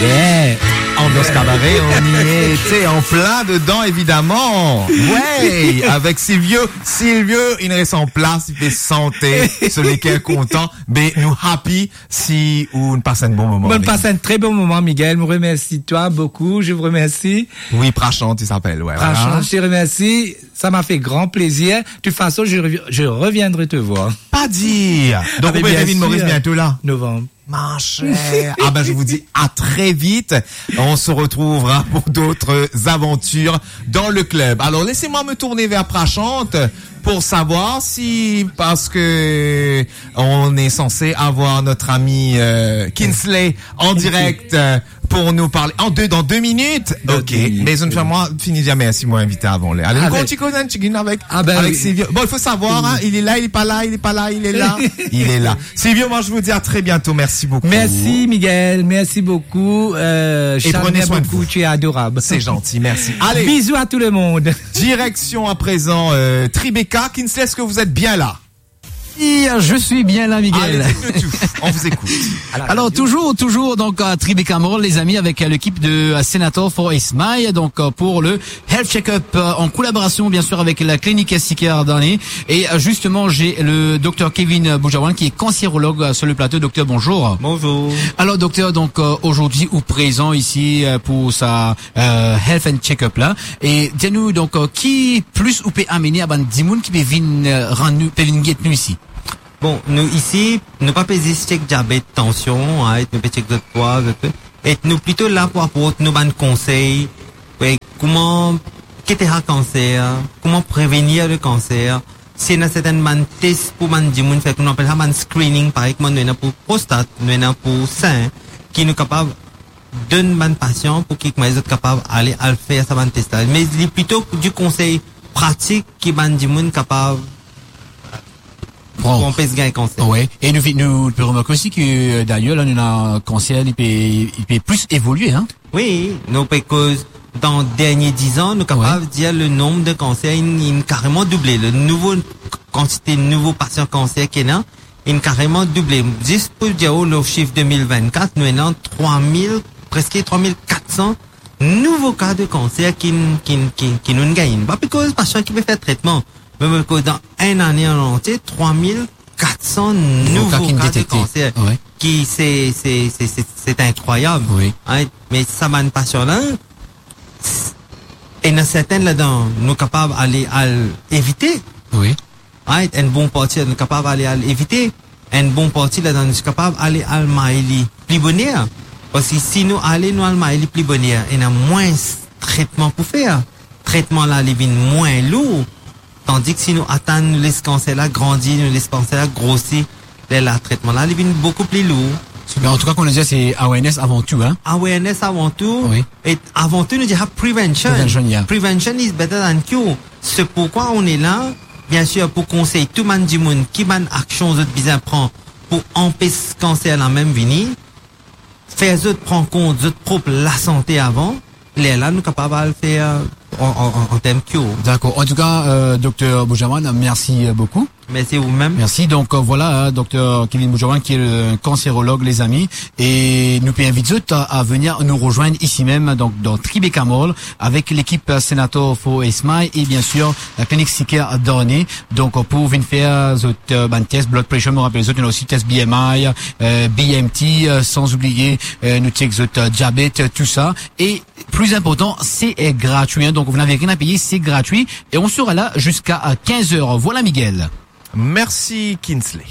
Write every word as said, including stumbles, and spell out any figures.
Eh, Ambiance Cabaret, on y est, tu sais, en plein dedans, évidemment. Ouais, avec Silvio. Silvio, il reste en place, il fait santé, celui qui est content. Mais nous happy, si on passe un bon moment. On passe un très bon moment, Miguel. Je vous remercie, toi, beaucoup. Je vous remercie. Oui, Prachant, il s'appelle, ouais, voilà. Prachant, je te remercie. Ça m'a fait grand plaisir. De toute façon, je revi-, je reviendrai te voir. Pas dire. Donc, ah, mais on peut bien sûr. Moris bientôt là. Novembre. Ma chère. Ah ben, je vous dis à très vite. On se retrouvera pour d'autres aventures dans le club. Alors, laissez-moi me tourner vers Prachante pour savoir si, parce que on est censé avoir notre ami, euh, Kinsley en direct, euh, pour nous parler. En deux, dans deux minutes. Dans deux minutes, oui. Ok. Mais une fois, moi, fini de dire merci, moi, invité avant les. Allez, ah ben, continue, continue avec, ah ben, avec oui. Silvio. Bon, il faut savoir, hein, il est là, il est pas là, il est pas là, il est là, il est là. Silvio, moi, je vous dis à très bientôt. Merci beaucoup. Merci, Miguel. Merci beaucoup. Euh, et prenez soin de vous. Tu es adorable. C'est gentil, merci. Allez. Bisous à tout le monde. Direction à présent, euh, Tribeca. Kinsley, est-ce que vous êtes bien là ? Oui, je suis bien là, Miguel. Allez, dites-nous tout. On vous écoute. Alors, toujours, toujours donc à Tribeca Mall, les amis, avec, euh, l'équipe de, euh, Senator for a Smile, donc, euh, pour le Health Check-up, euh, en collaboration, bien sûr, avec la clinique Siker Dani. Et, euh, justement, j'ai le docteur Kevin Boujawan, qui est cancérologue, euh, sur le plateau. Docteur, bonjour. Bonjour. Alors, docteur, donc, euh, aujourd'hui, ou présent ici, euh, pour sa, euh, Health and Check-up là. E dir nou, donk, euh, ki plis ou pe amene a bann dimoun ki pe vinn, euh, rann nou, pe vinn get nou isi? Bon, nou isi, nou pa pe zis check diabet, tansion, right? Nou pe check zot pwa, zot, e nou plito la pou aport nou bann konsey, wi, kouma, ki ete sa kanser, kouma prevenir le kanser. Si ena sertenn bann tes pou bann dimoun fer, nou apel sa bann screening, parey kouma nou ena pou prostat, nou ena pou sin, ki nou kapav donn bann pasian pou ki kouma zot kapav ale al fer sa bann tes la. Me li plito di konsey pratik ki bann dimoun kapav pran pou anpes gagn kanser. Wi, e nou vi-, nou pe remarke osi ke, euh, dayer, la, nou ena kanser, li pe, li pe plis evolie, hein? Wi, nou pe koz dan dernie diz an, nou kapav dir le nonb de kanser inn, inn kareman double. Le nouvo kantite nouvo pasian kanser ki ena, inn kareman double. Zis pou dir ou, le sif de mil vennkat, nou ena trwa mil, preske trwa mil kat san nouvo ka de kanser ki, ki, ki, ki nou gagn. Pa pe koz pasian ki pe fer tretman, me, me koz dan enn ane an antie, trwa mil kat san nouvo ka de kanser, ki se, se, se, se, se inkrwayab. Wi. Hein, me sa bann pasian la, ena sertenn ladan nou kapav ale al evite. Wi. Right, enn bon parti nou kapav ale al evite, enn bon parti ladan nou kapav ale al may li pli boner. Parski si nou ale, nou al may li pli boner, ena mwins tretman pou fer. Tretman la, li vinn mwin lour. Tandis si nou atann, nou les kanser la grandi, nou les kanser la grosi, lerla tretman la, li vinn boukou pli lour. Super. En tout cas, comme on dit, c'est awareness avant tout, hein? Awareness avant tout. Wi. E avan tou, nou dir prevention. Prevention, yeah. Prevention is better than cure. Se pourkwa nou la, bien sûr, pou konsey tou bann dimoun ki bann aksion zot bizin pran pou anpes kanser la mem vini, fer zot pran kont zot prop lasante avan, lerla nou kapav al fer, euh, an, an, an, an term cure. D'accord. En tout cas, euh, docteur Boujawan, merci, euh, beaucoup. Merci vous-même. Merci. Donc, euh, voilà, hein, docteur Kevin Boujawan, qui est le cancérologue, les amis. Et nous pouvons inviter zot à, à venir nous rejoindre ici même, donc dans Tribeca Mall, avec l'équipe, euh, Senator for a Smile et bien sûr la clinique Siker Dani. Donc, euh, pou vinn fer zot, euh, bann test, blood pressure, mo rapel zot, ena osi test B M I, euh, B M T, euh, sans oublier, euh, nou check zot, euh, diabet, euh, tout ça. Et plus important, c'est, euh, gratuit, hein. Donc, vous n'avez rien à payer, c'est gratuit. Et on sera là jusqu'à, euh, quinze heures. Voilà, Miguel. Merci, Kinsley.